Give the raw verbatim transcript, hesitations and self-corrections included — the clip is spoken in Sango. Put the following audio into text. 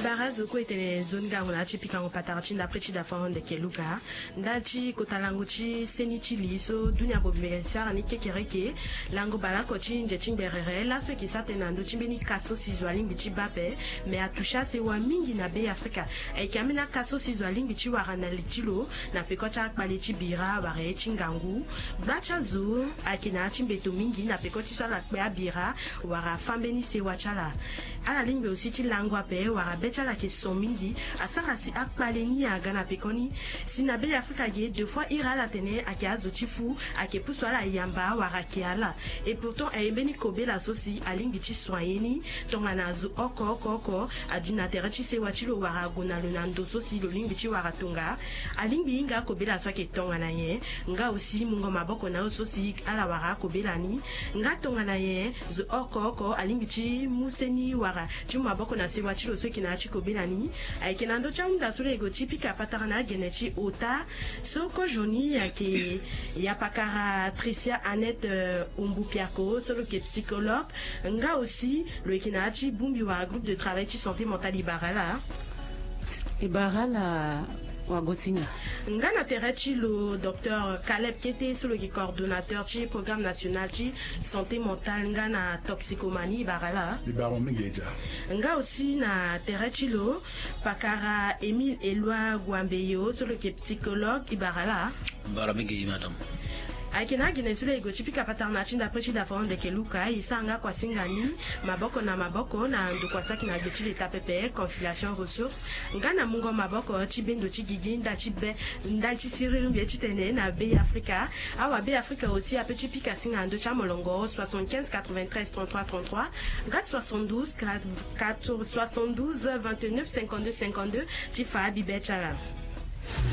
Bara zo kue e tene nzoni ngangu na ya ti pikango patara ti ndapre ti dafa hon ndeke luka. Ndali ti kota lango ti seni ti li so dunia bobele sara ni kekereke. Lango baleoko ti nze ti ngberere laso eke sa tënë na ndö ti mbeni ka so si zo alingbi ti baa ape. Me atouche asewa mingi na Be Afrika. Ayeke ambeni aka so si zo alingbi ti wara na li ti lo na peko ti akpale ti bira wala ye ti ngangu. Gba ti azo ayeke na ya ti mbeto mingi na peko ti so ala kpe abira wala afâ mbeni sewa ti ala. Ala lingbi aussi ti lango ape wala be ti ala ayeke son mingi. Asara si akpale ni aga na pekoni. Si na Be Afrika ge deux fois iri ala tene ayeke azo ti fu, ayeke pusu ala yamba wala ayeke ala. Et pourtant aye mbeni kobela so si alingbi ti soigner ni. Tongana azo oko oko oko adu na tere ti sewa ti lo wala ague na lo na ndo so si lo lingbi ti wara tonga. Alingbi hinga akobela so ayeke tongana nyen? Nga aussi mungo maboko na yo so si ala wara akobela ni. Nga tongana nyen zo oko oko alingbi ti mu seni wala ti mu maboko na sewa ti lo so eke na ya ti kobela ni? Ayeke na ndö ti ahunda so lo yeke ti pika patara na agene ti ota. So kozoni ayeke ya pakara Tricia Annette, euh, Umbupiako so lo yeke psychologue. Nga aussi lo yeke na ya ti bongbi wala groupe de travail ti santé mentale, e bara ala. E bara ala wagosinga. Nga na tere ti lo docteur Caleb Kete so lo yeke coordonnateur ti programme national ti santé mentale nga na toxicomanie, e bara ala. E bara mo mingi e dia. Nga aussi na tere ti lo pakara Émile Eloi Guambeyo so lo yeke psychologue, e bara ala. Bara mingi madame. Ayeke na agene so lo yeke gue ti pika patara na ya ti ndapre ti dafa hon ndeke luka. E sara nga kuasinga ni maboko na maboko na ndokua so ayeke na gbe ti leta pepe, Conciliation Ressource, nga na mungo maboko ti bendo ti gigi ndali ti be, ndali ti siriri mbi ye ti tene na Be Afrika. Awa Be Afrika aussi ape ti pika singa na ndö ti amolongo soixante-quinze quatre-vingt-treize trente-trois trente-trois, nga soixante-douze quatre, quatre, soixante-douze vingt-neuf cinquante-deux cinquante-deux ti fa abibe ti ala.